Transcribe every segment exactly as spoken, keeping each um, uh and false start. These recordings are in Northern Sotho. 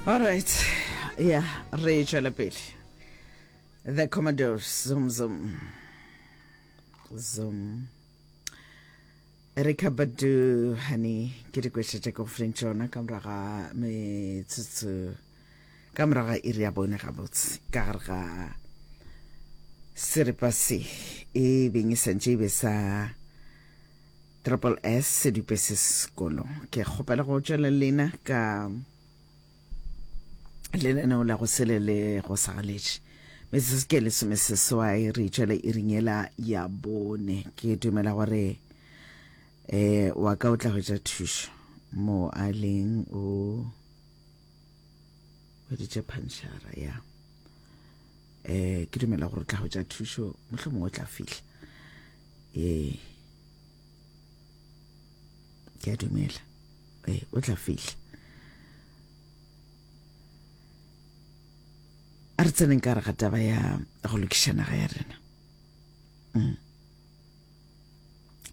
Alright, ya re tšwela pele. The Commodores, zoom zoom zoom. Erykah Badu, Honey, ke dikweša tša ke go fileng tšona ka morago ga metsotso, ka morago ga iri ya bone gabotse, ka gare ga seripa se e beng e santše e be sa Triple S sedupe se sekolo. Ke kgopela go tšwela lena ka lenaneo la go sele le go sagaletše. Metsotso ke lesomeseswai re tšwele iring yela ya bone. Ke dumela gore eh wa ka o tla hwetša thušo mo a leng, o hweditše phanšara ya eh ke dumela gore o tla hwetša thušo, mohlomongwe o tla fihla. Ee, ke a dumela, ee, o tla fihla. A re tseneng ka gare ga taba ya go lokiša naga ya rena. Mm.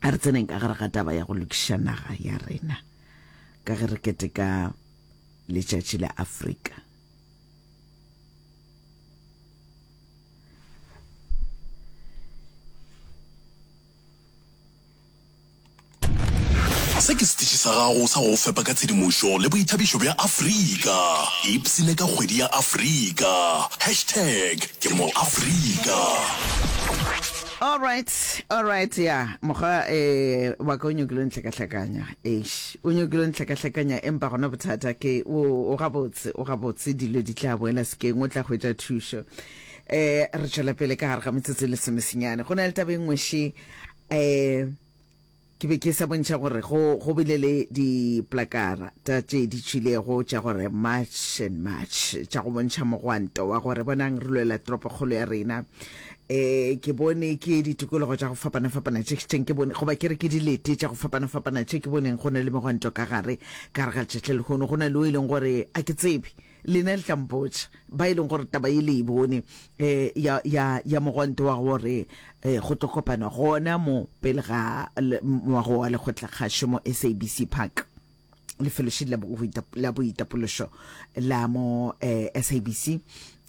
A re tseneng ka gare ga taba ya go lokiša naga ya rena ka ge re keteka letšatši la Afrika. Se ke setiši sa gago sa go go fepa ka tshedimošo le boithabišo bja Afrika. Ipshine ka kgwedi ya Afrika. Hashtag ke mo Afrika. All right, all right, ya mokgwa eh wa ka o nyakile o ntlhakahlakanya. Eish, o nyakile o ntlhakahlakanya, empa gona bothata ke o o gabotse, o gabotse, dilo di tla boela sekeng, o tla hwetša thušo. Eh re tšwela pele ka gare ga metsotso e lesomesenyane. Go na le taba e nngwe še, eh ke be ke sa bontšha gore go go bile le diplakara ta tše di tšwilego tša gore March and March, tša go bontšha mogwanto wa gore bonang re lwela toropokgolo ya rena. Eh ke bone ke ditikologo tša go fapana-fapana tše tšeng ke bone, goba ke re ke dilete tša go fapana-fapana tše ke boneng go na le megwanto ka gare, ka gare ga letšatši la lehono. Go na le o e leng gore a ke tsebe, lena le tla mpotša, ba e leng gore taba ye le e bone, eh, ya, ya, ya mogwanto wa gore eh, go tlo kopanwa gona mo pele ga moago wa lekgotlakgašo mo S A B C Park, lefelošedi la boitap-, la boitapološo la mo, eh, S A B C,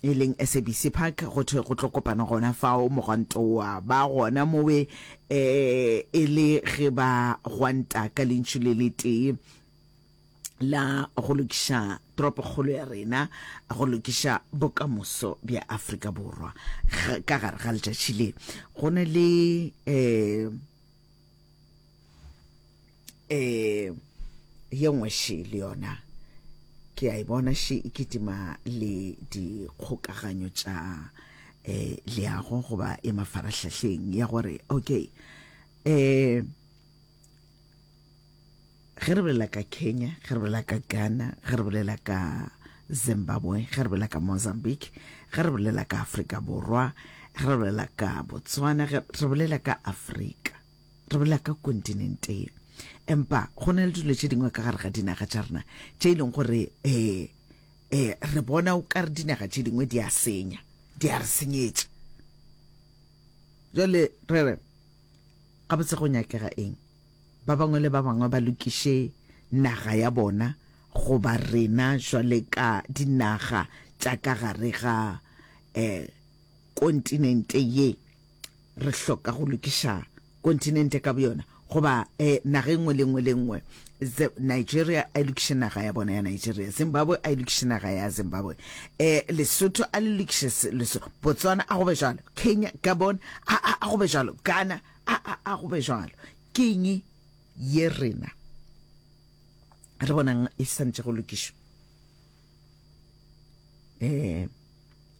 e leng S A B C Park, go thwe go tlo kopanwa gona fao mogwanto wa ba gona mowe, eh, e le ge ba gwanta ka lentšu le letee la go lokiša toropokgolo ya rena, go lokiša bokamoso bja Afrika Borwa. Ka gare ga letšatši le go na le eh, eh, ye nngwe še le yona ke a e bona še e kitima le dikgokaganyo tša eh, leago goba e mafarahlahleng ya gore okay, eh, ge re bolela ka Kenya, ge re bolela ka Ghana, ge re bolela ka Zimbabwe, ge re bolela ka Mozambique, ge re bolela ka Afrika Borwa, ge re bolela ka Botswana, ge re bolela ka Afrika, re bolela ka kontinente ye. Empa go na le dilo tše dingwe ka gare ga dinaga tša rena tše e leng gore eh, eh, re bona o ka re dinaga tše dingwe di a senya, di a re senyetša. Jwale re re gabotse go nyakega eng? Ba bangwe le ba bangwe ba lokiše naga ya bona, goba rena jwale ka dinaga tša ka gare ga eh, kontinente ye re hloka go lokiša kontinente ka boyona, goba eh, naga e nngwe le nngwe le nngwe. Nigeria a e lokiše naga ya bona ya Nigeria, Zimbabwe a e lokiše naga ya Zimbabwe, eh, Lesotho a le lokiše Lesotho, Botswana a go be jwalo, Kenya, Gabon a, a, a go be jwalo, Ghana a, a, a go be jwalo. Ke eng ye rena re bonang e santše go lokišwa? Eh,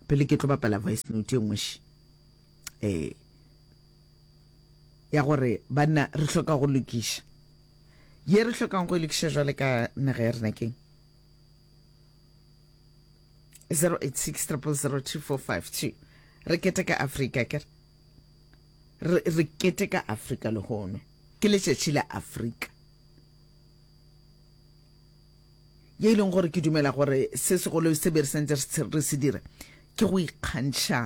pele ke tlo bapala voice note e nngwe še, eh, ya gore banna re hloka go lokiša. Ye re hlokang go e lokiša jwale ka naga ya rena keng? zero eight six triple zero two four five two. Re keteka Afrika, ke re re keteka Afrika lehono. Ke letšatši la Afrika. Ye e leng gore ke dumela gore se segolo se be re santse re se dira ke go ikgantšha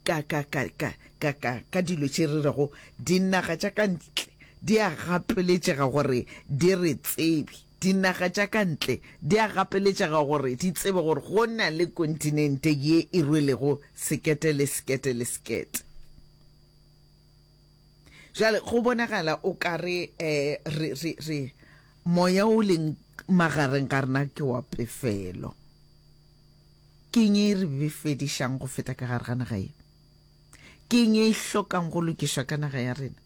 ka, ka, ka, ka, ka, ka, ka dilo tše re rego dinaga tša ka ntle di a gapeletšega gore di re tsebe, Dinaga tša ka ntle di a gapeletšega gore di tsebe gore go na le kontinente ye e rwelego sekete le sekete le sekete. Bjale go bonagala o ka re eh, re, re, re, moya o leng magareng ga rena ke wa pefelo. Ke eng e re befedišang go feta ka gare ga naga ye? Ke eng e hlokang go lokišwa ka naga ya rena?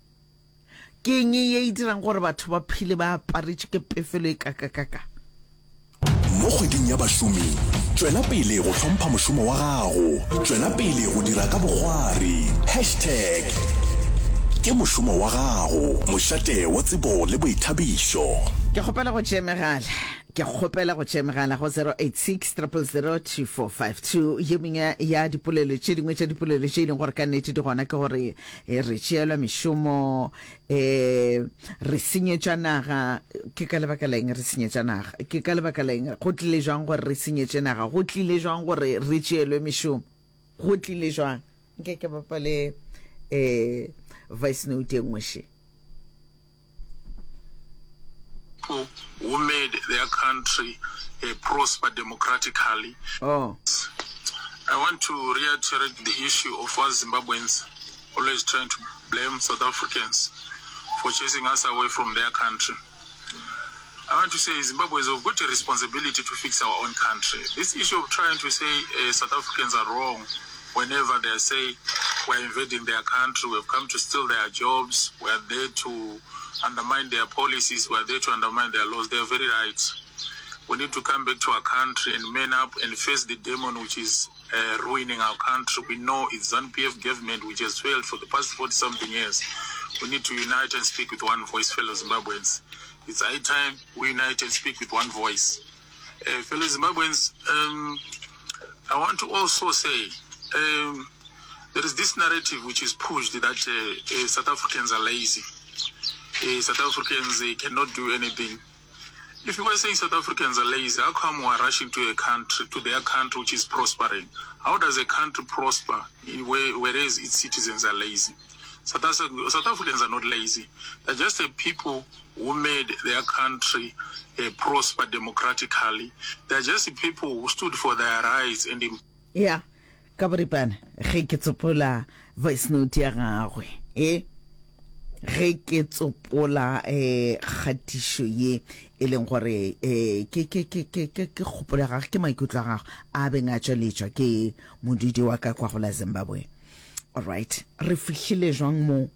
Ke eng ye e dirang gore batho ba phele ba aparetšwe ke pefelo e kakakaka? Mo kgweding ya bašomi, tšwela pele go hlompha mošomo wa gago, tšwela pele go dira ka bokgwari. Hashtag ke mošomo wa gago, mošate wa tsebo le boithabišo. Ke kgopela go tšea megala. Ke kgopela go tšea megala go zero eight six triple zero two four five two. Ye mengwe ya dipolelo tše dingwe tša dipolelo tše e leng gore ka nnete di gona ke gore re tšeelwa mešomo, eh, re senyetšwa naga. Ke ka lebaka la eng re senyetša naga? Ke ka lebaka la eng? Go tlile jwang gore re senyetše naga? Go tlile jwang gore re tšeelwe mešomo? Go tlile jwang? Nke ke bapale eh, voice note e nngwe še. People who made their country uh, prosper democratically. Oh. I want to reiterate the issue of us Zimbabweans always trying to blame South Africans for chasing us away from their country. I want to say Zimbabweans have got a responsibility to fix our own country. This issue of trying to say uh, South Africans are wrong whenever they say we're invading their country, we've come to steal their jobs, we are there to undermine their policies, we are there to undermine their laws, they are very right. We need to come back to our country and man up and face the demon which is uh, ruining our country. We know it's ZANU-P F government which has failed for the past forty-something years. We need to unite and speak with one voice, fellow Zimbabweans. It's high time we unite and speak with one voice. Uh, fellow Zimbabweans, um, I want to also say um, there is this narrative which is pushed that uh, uh, South Africans are lazy. Uh, South Africans uh, cannot do anything. If you were saying South Africans are lazy, how come we are rushing to a country, to their country which is prospering? How does a country prosper in where, whereas its citizens are lazy? South, South Africans are not lazy. They're just a people who made their country uh, prosper democratically. They're just the people who stood for their rights and... Yeah, ka boripana, ge ke tsopola voice note ya gagwe, eh? Ge ke tsopola eh kgatišo ye e leng gore eh ke ke ke ke ke ke kgopolo ya gagwe, ke maikutlo a gagwe a beng a tšweletšwa ke modudi wa ka kwa go la Zimbabwe. All right, re fihlile jwang mo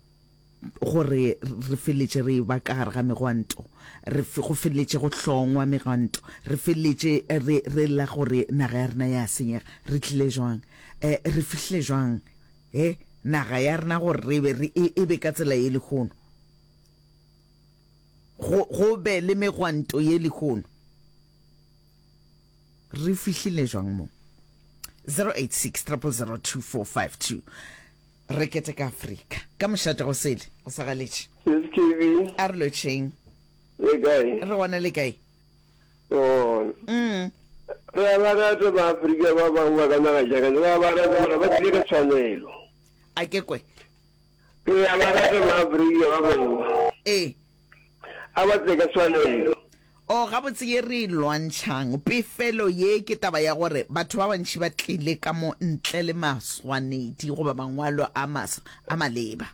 gore re feletše re ba ka gare ga megwanto, re go feletše go hlongwa megwanto, re feletše re re la gore naga ya rena ya senyega. Re tlile jwang, eh re fihlile jwang eh naga ya rena gore re be re e be ka tsela ye lehono, go go be le megwanto ye lehono? Re fihlile jwang mo? zero eight six triple zero two four five two. Re keteka Afrika ka mošate go sele go sa galetše. S K B. A re lotšheng. Le kae? Re gona, le kae? Gona. Mm. Re a ba rata ba Afrika ba bangwe ba ka naga tša ka, re a ba rata mara ba tlile ka tshwanelo. A ke kwe. Re a ba rata ba Afrika ba bangwe. Ee. A ba tle ka tshwanelo. O gabotse ye re e lwantšhang pefelo ye ke taba ya gore batho ba bantši ba tlile ka mo ntle le maswanedi goba mangwalo a mas a maleba.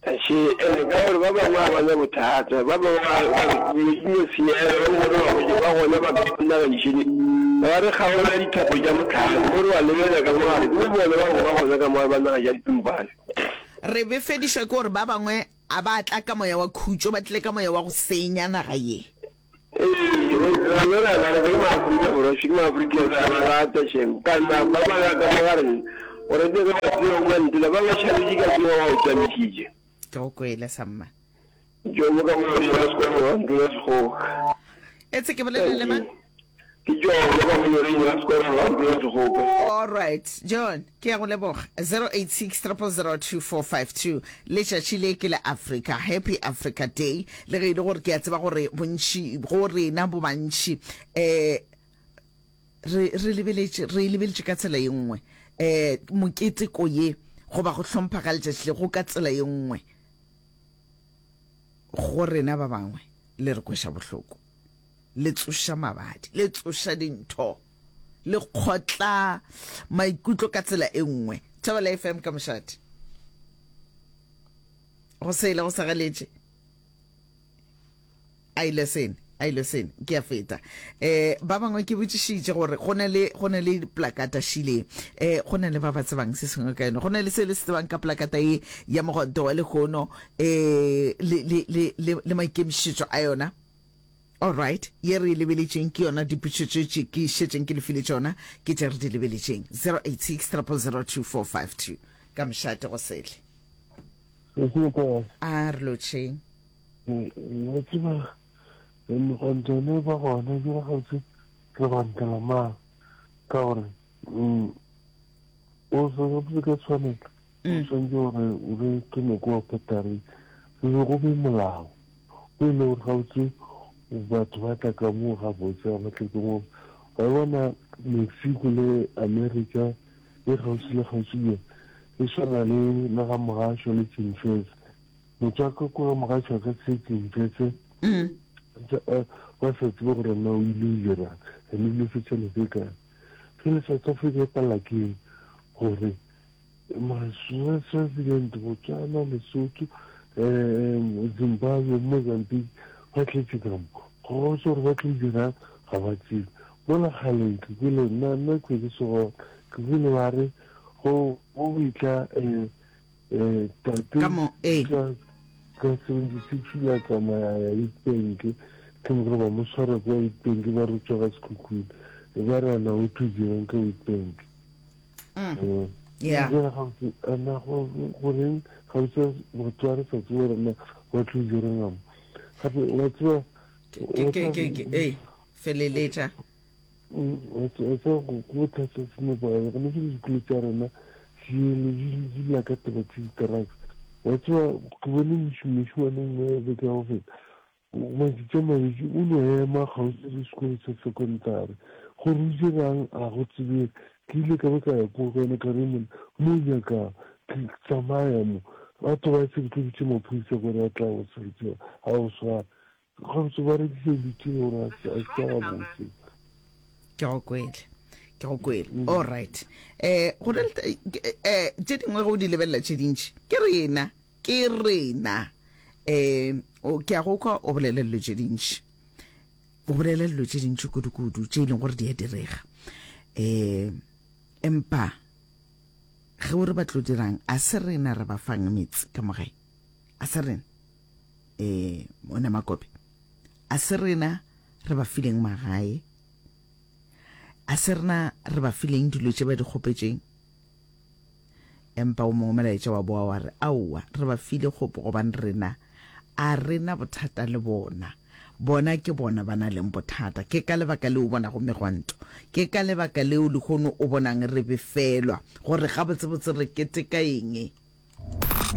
Še, ene ka gore ba bangwe ga ba na bothata, ba bangwe ba ba re dilo di no senyega, ba bangwe ba hwetše ba gona ba ka naganišene, ba re kgaola dithapo tša mohlare, mo re ba lebelela ka mo gare, ke bo bona ba bangwe ba gona ka mo gare ba naga tša ditumpane. Re befedišwa ke gore ba bangwe a ba tla ka moya wa khutšo, ba tlile ka moya wa go senya naga ye. Ee, rena re a ba rata, ke Maafrika Borwa, še ke Maafrika, re a ba rata šem. Ka nna ba ba ka mo ga rena, gore tle re ba tsebe go mantela, ba ba šaletše ka tseba ba o tsamišitše. Ke go kwele, samma. Jomo ka mo la sekolo wa ntlo ya Sekgoka. Etse ke bolela le mang? Ke Jomo ka mo la sekolo wa ntlo ya Sekgoka. All right, John, ke ya go leboga. zero eight six triple zero two four five two. Letšatši le ke la Africa, Happy Africa Day. Le ge e le gore ke a tseba gore bontši go rena bo bantši eh re re lebeletše re lebeletše ka tsela ye nngwe eh moketeko ye goba go hlompha ga letšatši le go ka tsela ye nngwe go rena ba bangwe le re kweša bohloko. Le tsoša mabadi, le tsoša dintho, le kgotla maikutlo ka tsela e nngwe. Thobela F M ka mošate. Go sele go sa galetše. A ile sene, a ile sene, ke a feta. Eh ba bangwe ke botšišitše gore go na le go na le plakata šile. Eh go na le ba ba tsebang se sengwe ka yona. Go na le se le se tsebang ka plakata ye ya mogwanto wa lehono eh le le le le, le maikemišetšo a yona. All right, ye re e lebeletšeng ke yona dipotšišo tše tše ke šetšeng ke le file tšona ke tše re di lebeletšeng. zero eight six zero zero zero two four five two ka mošate go sele. A re lotšheng. Wa tseba, megwanto ne ba gona ke gabotse re gwantela mang, ka gore o se ka tshwanelo o tshwanetse gore o be ke nako wa patari re be go be molao o e le gore gabotse batho ba tla ka moo gabotse ga ba tle ke moo. Wa bona Mexico le America e kgauswi le kgauswi bjang, e swana le le ga Mogašo le Tšimfetse. Motho a ka kwa Mogašo a ka se Tšimfetse ba sa tsebe gore na o ile o dirang ene o ile fetša nako e kae. Fela South Africa e palela keng gore Swaziland, Botswana, Lesotho, um Zimbabwe, Mozambique ba tletse ka mo go gotse gore ba tlo dirang ga ba tsebe. Mola kgaleng ke kwele nna nna ke ke se gona, ke kwele ba re go go itla um um tate Ka mo, ee. ka ka seventy six ile a tsamaya ya Witbank, ke mo gore ba mo tshwara kwa Witbank ba re tswa ga Sekhukhune, ba re ana o tlo dirang ka Witbank. Mm. Yeah. Jale gabotse ana goreng gabotse batho ba re sa tsebe gore na ba tlo dirang mo gape wa tseba. Ke ke ke ke ee feleletša. Wa tseba go bothata se nepagale gone ke dikolo tša rena di lla ka taba tse di-drugs. Wa tseba ke bone mošemane nngwe beke ya go feta matšatši a mabedi o no ema kgauswi le sekolo sa secondary gore o dirang a go tsebege. Ke ile ka ba ka ya ko go yena ka re monna mo o nyakang ke tsamaya mo batho ba se ke tlo bitše maphodisa gore a tla go a go swara gabotse ba rekisa dilo tše gore a se a gabotse. Ke go kwele, ke go kwele. All right, eh go na le eh tše dingwe ge o di lebelela tše dintši ke rena, ke rena. eh o ke a go kwa o bolela dilo tše dintši, o bolela dilo tše dintši kudu-kudu tše e leng gore di a direga, eh empa ge o re ba tlo dirang, a se rena re ba fang metse ka mogae, a se rena eh ona makope, a se rena re ba fileng magae, a se rena re ba fileng dilo tše ba di kgopetšeng. Empa o mongwe molaetša wa boa wa re aowa, re ba file kgopo gobane rena a rena bothata le bona, bona ke bona ba na leng bothata. Ke ka lebaka leo o bonago megwanto, ke ka lebaka leo lehono o bonang re befelwa gore gabotsebotse re keteka eng.